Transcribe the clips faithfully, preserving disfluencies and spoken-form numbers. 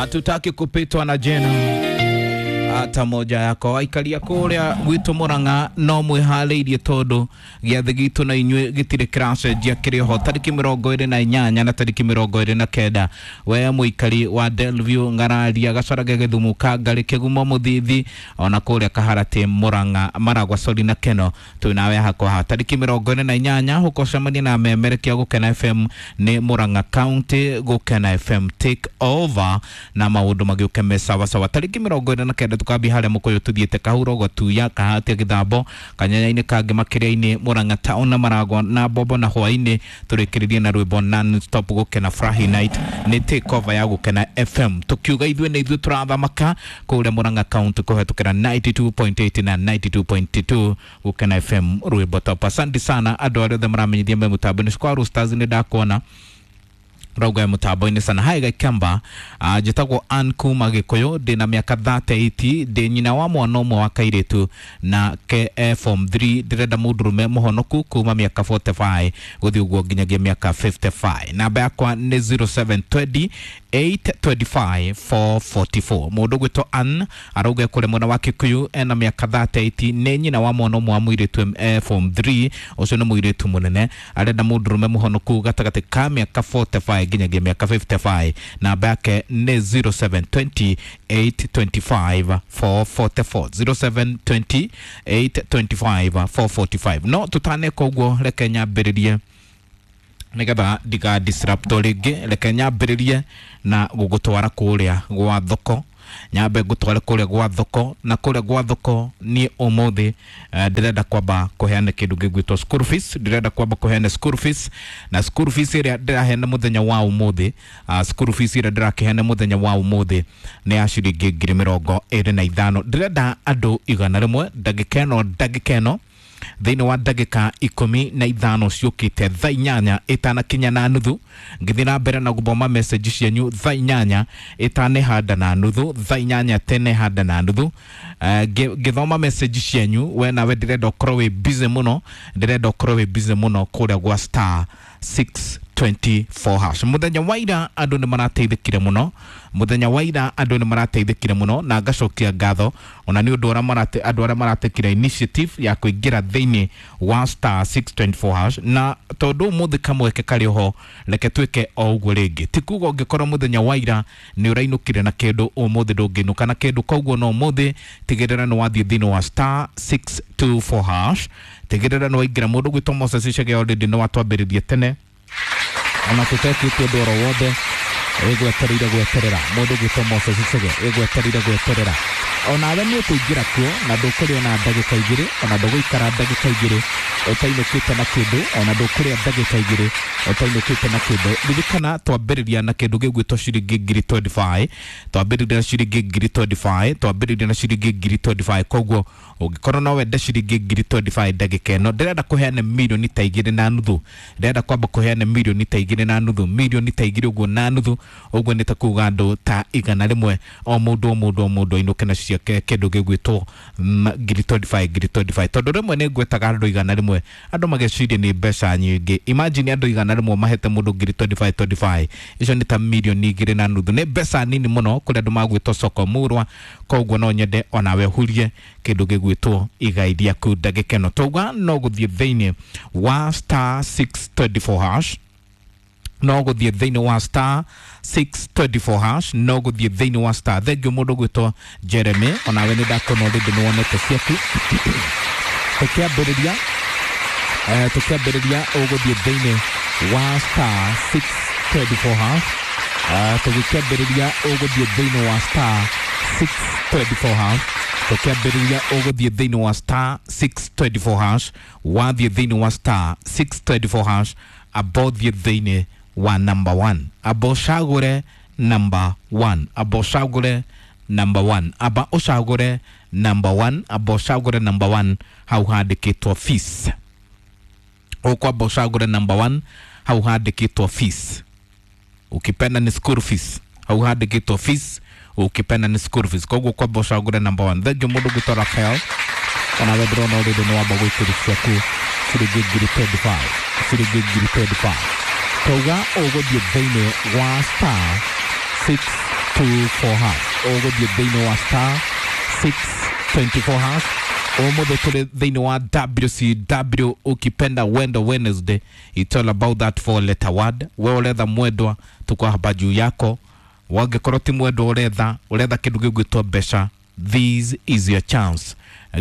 Hatutaki kupitwa na jena hata moja yako. Aikaria kuria gwitu Murang'a no mwihariirie tondu giathi gitu na inyue gitire kiracenjia kiri ho tariki mirongo iri na inyanya na tariki mirongo iri na kenda. We muikari wa Delview, Ngararia, Gacarage, Githumu, Kangari, Kigumo, Muthithi ona kuria Kaharati, Murang'a, Maragwa, Sori na Keno twinawe hakwa tariki mirongo iri na inyanya huko cemania na memerekia Gukena F M ni Murang'a County Gukena F M take over na maundu magiuke me sawa sawa. Tariki mirongo iri na kenda tukambi haria mukuyu tuthiete Kahuro, Gatuya, Kahatia, Githambo, Kanyanya-ini, Kangi, Makiria-ini, Murang'a town na Maragwa na Bobo na hwaini turikiririe na rwimbo non stop Gukena Friday night ni take over ya Gukena F M tukiuga ithuĩ nĩ ithuĩ turathamaka kuria Murang'a County kuhetũkĩra ninety-two point eight na ninety-two point two Gukena F M rwimbo top. Asante sana andũ arĩa othe maramenyithia me mũtambo-inĩ kwa Roosters nĩ ndakuona rauga mutambo-inĩ sana. Hai Gaikamba, uh, njĩtagwo Ann kuma Gĩkũyũ, ndĩna mĩaka thirty-eight, ndĩ nyina wa mwana ũmwe wa kairĩtu na ke eh, form three. Ndĩrenda mũndũrũme mũhonoku kuma mĩaka forty-five gũthiĩ ũguo nginyagia mĩaka fifty-five. Namba yakwa nĩ zero seven twenty eight twenty-five four forty-four. Mũndũ ũgwĩtwo Ann arauga kũrĩ mwena wa Kikuyu, ena mĩaka thirty-eight, nĩ nyina wa mwana ũmwe wa mũirĩtu eh, form three, ũcio nĩ mũirĩtu mũnene, arenda mũndũrũme mũhonoku gatagatĩ ka mĩaka forty-five nginyagia mĩaka fifty-five. Namba yake nĩ zero seven twenty eight twenty-five four forty-four, zero seven twenty eight twenty-five four forty-five. No tutaneka ũguo, reke nyambĩrĩrie nigetha ndiga disrupt rĩngĩ, reke nyambĩrĩrie na gũgũtwara kũrĩa gwa thoko. Nyambe ngũtware kũrĩa gwa thoko, na kũrĩa gwa thoko niĩ ũmũthĩ ndĩrenda kwamba kũheana kĩndũ gĩgwĩtwo school fees. Ndĩrenda kwamba kũheana school fees, na school fees ĩrĩa ndĩraheana mũthenya wa ũmũthĩ, uh, school fees ĩrĩa ndĩrakĩheana mũthenya wa ũmũthĩ nĩ ya ciringi ngiri mĩrongo ĩrĩ na ithano. Ndĩrenda andũ igana rĩmwe ndagĩka ĩno ndagĩka ĩno thĩinĩ wa ndagĩka ikũmi na ithano ciũkĩte thaa inyanya ĩtanakinya na nuthu, ngĩthiĩ na mbere na gũthoma message cianyu thaa inyanya ĩtanehanda na nuthu, thaa inyanya tenehanda na nuthu. Ngĩthoma message cianyu, we nawe ndĩrenda ũkorwo wĩ busy mũno, ndĩrenda ũkorwo wĩ busy mũno kũrĩa gwa star six twenty-four hash. Mũthenya wa ira andũ nĩ marateithĩkire mũno, mũthenya wa ira andũ nĩ marateithĩkire mũno, na ngacokia ngatho ona nĩ ũndũ ũrĩa andũ arĩa maratekire initiative ya kũingĩra thĩinĩ wa star six twenty-four hash. Na tondũ ũmũthĩ kamweke karĩ ho, reke twĩke o ũguo rĩngĩ. Ti kuga ũngĩkorwo mũthenya wa ira nĩ ũrainũkire na kĩndũ, ũmũthĩ ndũngĩinũka na kĩndũ. Koguo no ũmũthĩ tigĩrĩra nĩ wathiĩ thĩinĩ wa star six two four hash, tigĩrĩra nĩ waingĩra. Mũndũ gwĩtwo Moses Chege already nĩ watwambĩrĩria tene ona tutekĩte ũndũ oro wothe, ĩgwetereire gweterera. Mũndũ gwĩtwo Moses Chege ĩgwetereire gweterera, onawe nĩ ũkũingĩra kuo na ndũkũrĩa ona ndagĩka igĩrĩ, ona ndũgũikara ndagĩka igĩrĩ ũtainũkĩte na kĩndũ, ona ndũkũrĩa ndagĩka igĩrĩ ũtainũkĩte na kĩndũ. Ririkana twambĩrĩria na kĩndũ gĩgwĩtwo ciringi ngiri twenty-five, twambĩrĩria na ciringi ngiri twenty-five, twambĩrĩria na ciringi ngiri twenty-five. Koguo ũngĩkorwo no wende ciringi ngiri twenty-five ndagĩka ĩno, ndĩrenda kũheana mirioni ta igĩrĩ na nuthu, ndĩrenda kwamba kũheana mirioni ta igĩrĩ na nuthu, mirioni ta igĩrĩ ũguo na nuthu, ũguo nĩ ta kuga andũ ta igana rĩmwe o mũndũ o mũndũ o mũndũ ainũke na ciake kĩndũ gĩgwĩtwo ngiri twenty-five, ngiri twenty-five. Tondũ rĩmwe nĩ ngwetaga andũ igana rĩmwe, andũ mageciria nĩ mbeca nyingĩ. Imagine andũ igana rĩmwe mahete mũndũ ngiri twenty-five twenty-five, icio nĩ ta mirioni igĩrĩ na nuthu, nĩ mbeca nini mũno kũrĩ andũ magwĩtwo soko murwa. Koguo no nyende onawe hurie kĩndũ gĩgwĩtwo igai rĩaku ndagĩka ĩno. Twauga no gũthiĩ thĩinĩ wa star six twenty-four hash, no gũthiĩ thĩinĩ wa star six twenty-four hash, no gũthiĩ thĩinĩ wa star. Thengiũ mũndũ gwĩtwo Jeremy, onawe nĩ ndakuona already nĩ wonete ciaku. Tũkĩambĩrĩria eh, tũkĩambĩrĩria ũgũthiĩ thĩinĩ wa star six twenty-four hash, uh, tũgĩkĩambĩrĩria ũgũthiĩ thĩinĩ wa star six twenty-four hash, tũkĩambĩrĩria ũgũthiĩ thĩinĩ wa star six twenty-four hash, wathiĩ thĩinĩ wa star six twenty-four hash, abothiĩ thĩinĩ wa number one, abo ũcagũre number one, abo ũcagũre number one, aba ũcagũre number one, aba ũcagũre number one, hau handĩkĩtwo fees. Ũkwamba ũcagũre number one, hau handĩkĩtwo fees, ukipenda ni school fees, hau handĩkĩtwo fees, ukipenda ni school fees. Koguo kwamba ũcagũre number one. Thengiũ mũndũ gwĩtwo Rafael, onawe ndĩrona already nĩ wamba gwĩkĩra ciaku ciringi ngiri twenty-five, ciringi ngiri twenty-five. Twauga ũgũthiĩ thĩinĩ wa star six two four hash. Ũgũthiĩ thĩinĩ wa star six twenty four hash. Ũmũthĩ tũrĩ thĩinĩ wa W C W ukipenda Wendo Wednesday. It's all about that four letter word. We ũretha mwendwa, tuko hapa juu yako. Wangĩkorwo ti mwendwa ũretha, ũretha kĩndũ gĩgwĩtwo mbeca, this is your chance.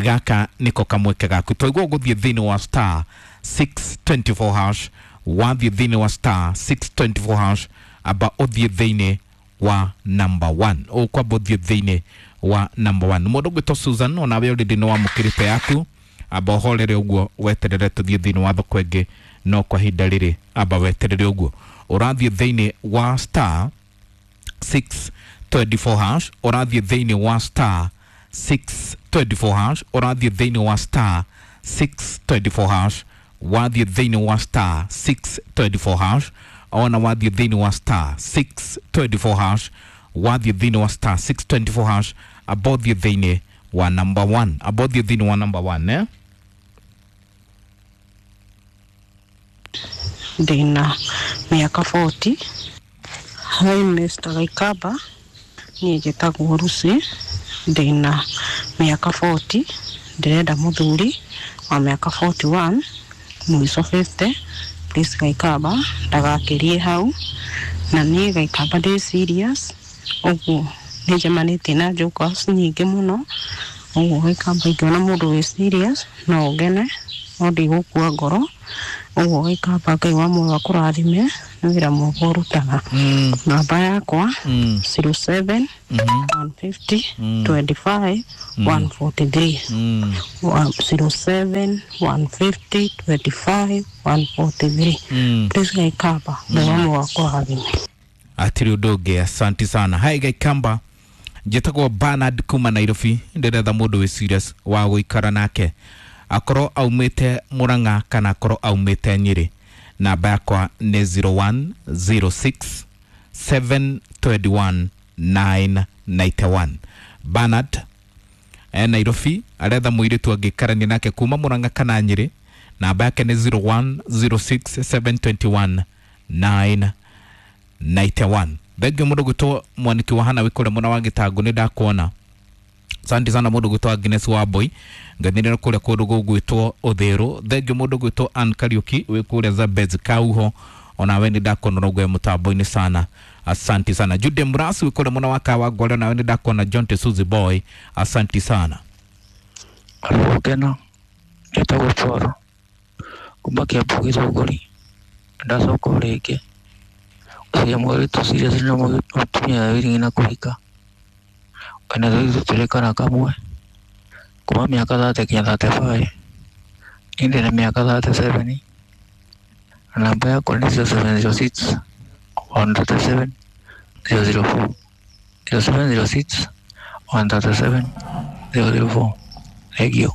Gaka niko kamweke gaku. Twaigua ũgũthiĩ thĩinĩ wa star six twenty four hash. Wathiĩ thĩinĩ wa star six twenty four hash, amba ũthiĩ thĩinĩ wa number one. Ũkwamba ũthiĩ thĩinĩ wa number one. Mũndũ ũgwĩtwo Susan, onawe already nĩ wamũkĩrĩte yaku, amba ũhorere ũguo weterere tũthiĩ thĩinĩ wa thoko ĩngĩ, no kwa ihinda rĩrĩ amba weterere ũguo. Ũrathiĩ thĩinĩ wa star six twenty four hash, ũrathiĩ thĩinĩ wa star six twenty four hash, ũrathiĩ thĩinĩ wa star six twenty four hash, wathiĩ thĩinĩ wa star six twenty four hash, ona wathiĩ thĩinĩ wa star six twenty four hash, wathiĩ thĩinĩ wa star six twenty four hash, amba ũthiĩ thĩinĩ wa number one, amba ũthiĩ thĩinĩ wa number one, eh? Ndĩna mĩaka forty. Hi Mister Gaikamba, niĩ njĩtagwo Lucy, ndĩna mĩaka forty, ndĩrenda mũthuri wa mĩaka forty one, mũico fifty. Please Gaikamba, ndagakĩrie hau. Na niĩ Gaikamba ndĩ serious, ũguo nĩnjemanĩtie na jokers nyingĩ mũno, ũguo Gaikamba ingĩona mũndũ wĩ serious no ngene, no ndigũkua ngoro. Ũguo Gaikamba Ngai wa muoyo akũrathime nĩ wĩra mwega ũrutaga. Mm. Namba yakwa Mm. zero seven Mhm. one fifty Mm. twenty five one forty three. Mm. Zero seven one fifty twenty five one forty three. Mm. Please Gaikamba Ngai wa muoyo akũrathime. Atiri ũndũ ũngĩ, asanti sana. Hi Gaikamba, njĩtagwo Bernard kuma Nairobi, ndĩretha mũndũ wĩ serious wa gũikara nake, akorwo aumĩte Murang'a kana akorwo aumĩte Nyĩrĩ. Namba yakwa nĩ zero one zero six seven twenty one nine ninety one. Bernard e Nairobi, aretha mũirĩtu angĩikarania nake kuma Murang'a kana Nyĩrĩ. Namba yake nĩ zero one zero six seven twenty one nine ninety one. Thengiũ mũndũ gwĩtwo Mwaniki wa Hana wĩ kũrĩa mwena wa Gĩtangũ, nĩ ndakuona. Asante sana mũndũ gwĩtwo Agnes Wambui, ngathinĩra kũrĩa kũndũ gũgwĩtwo Ũthĩrũ. Thengiũ mũndũ gwĩtwo Ann Kariuki wĩ kũrĩa Zambezi Kauho, onawe nĩ ndakuona ũrauga mũtambo-inĩ sana. Asante sana. Jude Murasi wĩ kũrĩa mwena wa Kawangware, onawe nĩ ndakuona. John Tesuzi Boy, asante sana. Gũkena, njĩtagwo Paul kuma Kĩambu Gĩthũngũri, ndacoka o rĩngĩ gũcaria mũirĩtu serious na mũtumia wĩrĩgĩ na kũhika, wĩna tũirĩtu twĩrĩ kana kamwe, kuma mĩaka thirty nginya thirty five, niĩ ndĩna mĩaka thirty seven, na namba yakwa nĩ zero seven zero six one thirty seven zero zero four, zero seven zero six one thirty seven zero zero four. Thank you.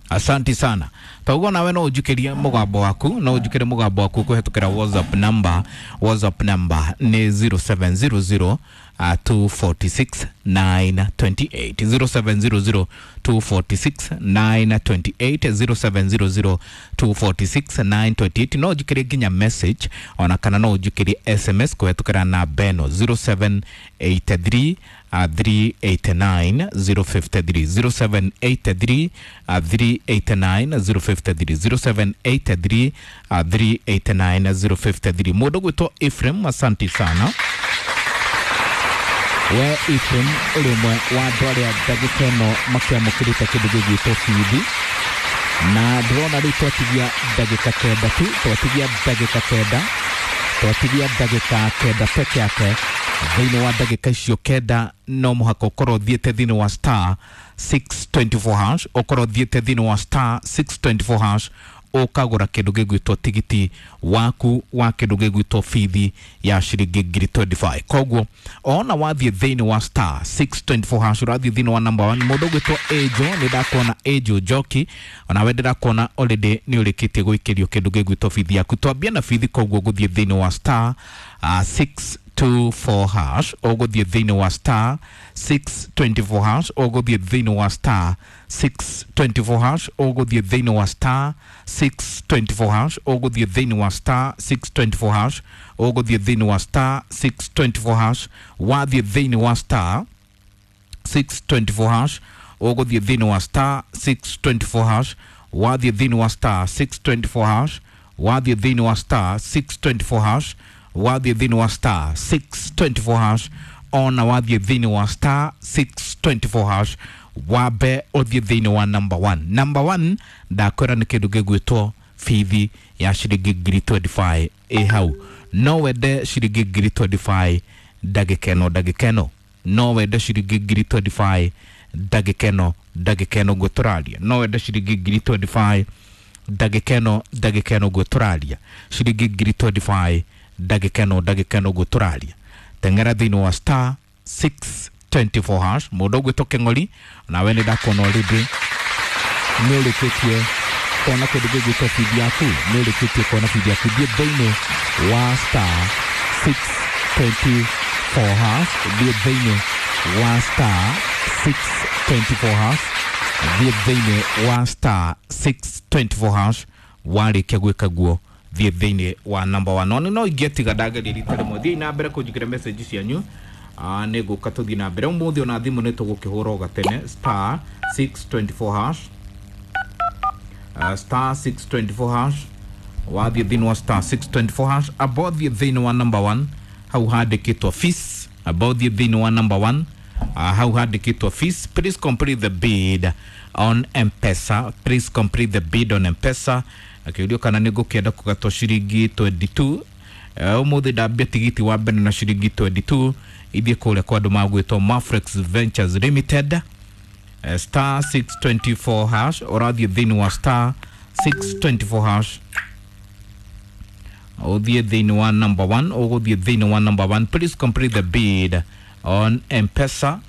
Asante sana. Taugo nawe no ũnjũkĩrie mũgambo waku, no ũnjũkĩrie mũgambo waku kũhetũkĩra WhatsApp number. WhatsApp number nĩ zero seven zero zero, uh, two forty six nine twenty eight. zero seven zero zero two forty six nine twenty eight. zero seven zero zero two forty six nine twenty eight. No ũnjũkĩrie nginya message ona kana no ũnjũkĩrie S M S kũhetũkĩra namba ĩno zero seven eight three, uh, three eight nine zero fifty three. zero seven eight three, uh, three eight nine zero fifty three. zero seven eight three, uh, three eight nine zero fifty three. Mũndũ gwĩtwo Ephraim, asante sana. We Ephraim ũrĩ ũmwe wa andũ arĩa ndagĩka ĩno makĩamũkĩrĩte kĩndũ gĩgwĩtwo bithi, na ndĩrona rĩu twatigia ndagĩka kenda tu, twatigia ndagĩka kenda, twatigia ndagĩka kenda peke yake. Thĩinĩ wa ndagĩka icio kenda no mũhaka ũkorwo ũthiĩte thĩinĩ wa star six twenty four hash, ũkorwo ũthiĩte thĩinĩ wa star six twenty four hash, ũkagũra kĩndũ gĩgwĩtwo tigiti waku wa kĩndũ gĩgwĩtwo bithi ya ciringi ngiri twenty five. Koguo ona wathiĩ thĩinĩ wa star six twenty four hash, ũrathiĩ thĩinĩ wa number one. Mũndũ ũgwĩtwo Angel, nĩ ndakuona Angel Njoki, onawe ndĩrakuona already nĩ ũrĩkĩtie gũikĩrio kĩndũ gĩgwĩtwo bithi yaku. Twambie na bithi, koguo gũthiĩ thĩinĩ wa star, uh, six two four hash, ũgũthiĩ thĩinĩ wa star six twenty four hash, ũgũthiĩ thĩinĩ wa star six twenty four hash, ũgũthiĩ thĩinĩ wa star six twenty four hash, ũgũthiĩ thĩinĩ wa star six twenty four hash, ũgũthiĩ thĩinĩ wa star six twenty four hash, wathiĩ thĩinĩ wa star six twenty four hash, ũgũthiĩ thĩinĩ wa star six twenty four hash, wathiĩ thĩinĩ wa star six twenty four hash, wathiĩ thĩinĩ wa star six twenty four hash, wathiĩ thĩinĩ wa star six twenty four hash, ona wathiĩ thĩinĩ wa star six twenty four hash, wambe ũthiĩ thĩinĩ wa number one. Number one ndakwĩra nĩ kĩndũ gĩgwĩtwo bithi ya ciringi ngiri twenty five ĩ hau. No wende ciringi ngiri twenty five ndagĩka ĩno ndagĩka ĩno, no wende ciringi ngiri twenty five ndagĩka ĩno ndagĩka ĩno ũguo tũraria, no wende ciringi ngiri twenty five ndagĩka ĩno ndagĩka ĩno ũguo tũraria, ciringi ngiri twenty five ndagĩka ĩno ndagĩka ĩno ũguo tũraria. Teng'era thĩinĩ wa star six twenty four hash. Mũndũ ũgwĩtwo Kĩng'ori, nawe nĩ ndakuona already nĩ ũrĩkĩtie kuona kĩndũ gĩgwĩtwo feed yaku, nĩ ũrĩkĩtie kuona feed yaku. Thiĩ thĩinĩ wa star six twenty four hash, thiĩ thĩinĩ wa star six twenty four hash, thiĩ thĩinĩ wa star six twenty four hash. Warĩkia gwĩka guo thiĩ thĩinĩ wa number one. No no ingĩtiga ndageria rita rĩmwe. Thiĩ na mbere kũnjigĩra message cianyu, ah nĩ ngũka tũthiĩ na mbere ũmũthĩ. Ona thimũ nĩ tũgũkĩhũra o gatene star six twenty four hash, uh, star six twenty four hash. Wathiĩ thĩinĩ wa star six twenty four hash, amba ũthiĩ thĩinĩ wa number one hau handĩkĩtwo fees, amba ũthiĩ thĩinĩ wa number one uh, hau handĩkĩtwo fees. Please complete the bid on M-Pesa, please complete the bid on M-Pesa. Akĩũrio kana nĩ ngũkĩenda kũgatwo ciringi twenty two. Ũmũthĩ ndambia tigiti wa mbere na ciringi twenty two ithiĩ kũrĩa kwa andũ magwĩtwo Mafrex Ventures Limited. Uh, star six twenty four hash, ũrathiĩ thĩinĩ wa star six twenty four hash, ũthiĩ thĩinĩ wa number one, ũgũthiĩ thĩinĩ wa number one. Please complete the bid on M-Pesa.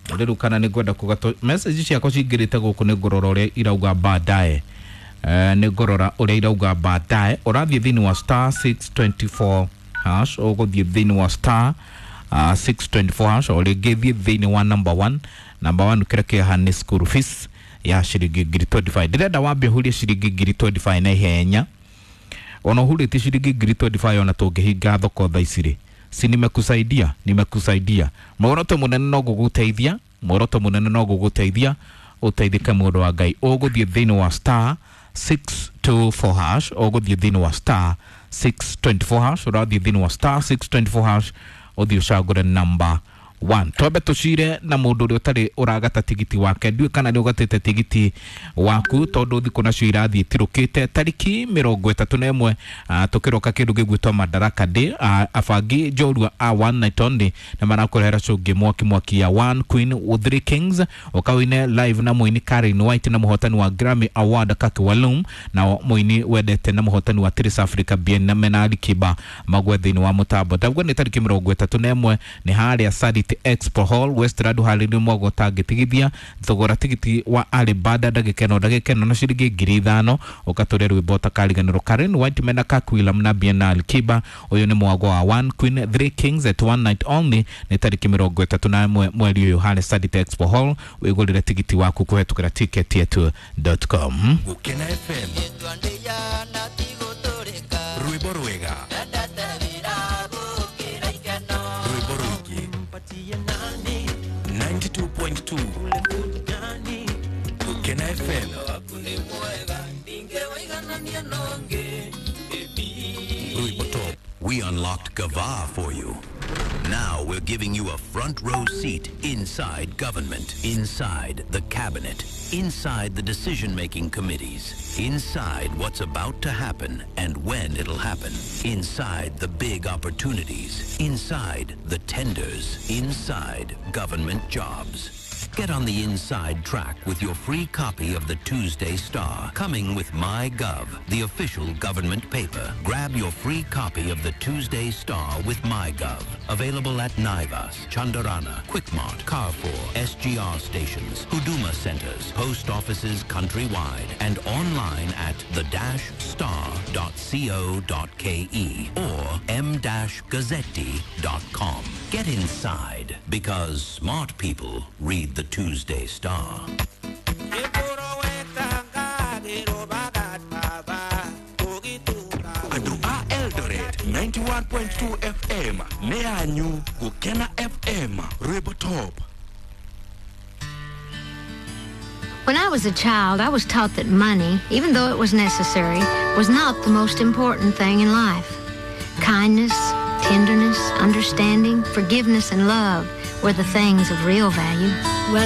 Rĩu kana nĩ ngwenda kũgatwo message ciakwa cingĩrĩte gũkũ, nĩ ngũrora ũrĩa irauga baadaye. Uh, nĩ ngũrora ũrĩa irauga baadaye. Ũrathiĩ thĩinĩ wa star six twenty four hash, ũgũthiĩ thĩinĩ wa star uh, six twenty four hash, o rĩngĩ thiĩ thĩinĩ wa number one. Number one kĩrĩa kĩhaha nĩ school fees ya ciringi ngiri twenty five. Ndĩrenda wambe ũhurie ciringi ngiri twenty five na ihenya. Ona ũhurĩtie ciringi ngiri twenty five ona tũngĩhinga thoko thaa ici rĩ, si nimekusaidia, nimekusaidia. Muoroto mũnene no gũgũteithia, muoroto mũnene no gũgũteithia ũteithĩke mũndũ wa Ngai. Ũgũthiĩ thĩinĩ wa star six two four hash, ũgũthiĩ thĩinĩ wa star six twenty four hash, ũrathiĩ thĩinĩ wa star six twenty four hash, ũthiĩ ũcagũre number one. Twambe tũcire na mũndũ ũrĩa ũtarĩ ũragata tigiti wake. Ndiũĩ kana nĩ ũgatĩte tigiti waku tondũ thikũ nacio irathiĩ itirũkĩte. Tariki mĩrongo ĩtatũ na ĩmwe tũkĩroka kĩndũ gĩgwĩtwo Madaraka Day, abangi njorua a one night only nĩ marakũrehera cũngĩ mwaki mwaki ya One Queen with Three Kings, ũkawine live na mũini Karen White na mũhotani wa Grammy Award Kaki Walum, na mũini wendete na mũhotani wa Trace Africa Bien na Menali Kiba magwe thĩinĩ wa mũtambo. Ndaguo nĩ tariki mĩrongo ĩtatũ na ĩmwe nĩ harĩa Sarit Expo Hall Westland harĩ mwago tangĩtigithia thogora tigiti wa Alibada ndagĩka ĩno ndagĩka ĩno na ciringi ngiri ithano ũgatũria rwĩmbo ũtakariganĩrwo. Karen White mena Kaki Walum na Bien na Alikiba. Ũyũ nĩ mwago wa One Queen Three Kings at one night only nĩ tariki mĩrongo ĩtatũ na ĩmwe mweri ũyũ harĩ Sarit Expo Hall. Wĩgũrĩre tigiti waku kũhetũkĩra ticket yetu dot com. Gũkena F M rwĩmbo rwega, rwĩmbo rũingĩ, ninety two point two Gũkena F M. Rwĩmbo top. We unlocked Gava for you. Now we're giving you a front row seat inside government, inside the cabinet, inside the decision-making committees, inside what's about to happen and when it'll happen, inside the big opportunities, inside the tenders, inside government jobs. Get on the inside track with your free copy of the Tuesday Star, coming with MyGov, the official government paper. Grab your free copy of the Tuesday Star with MyGov. Available at Naivas, Chandarana, Quickmart, Carrefour, S G R stations, Huduma centers, post offices countrywide, and online at the dash star dot co dot K E or m dash gazzetti dot com. Get inside, because smart people read the Tuesday Star. Andũ a Eldoret ninety-one point two F M nĩ yanyu Gũkena F M Rwĩmbo Top. When I was a child, I was taught that money, even though it was necessary, was not the most important thing in life. Kindness, tenderness, understanding, forgiveness, and love were the things of real value. Well,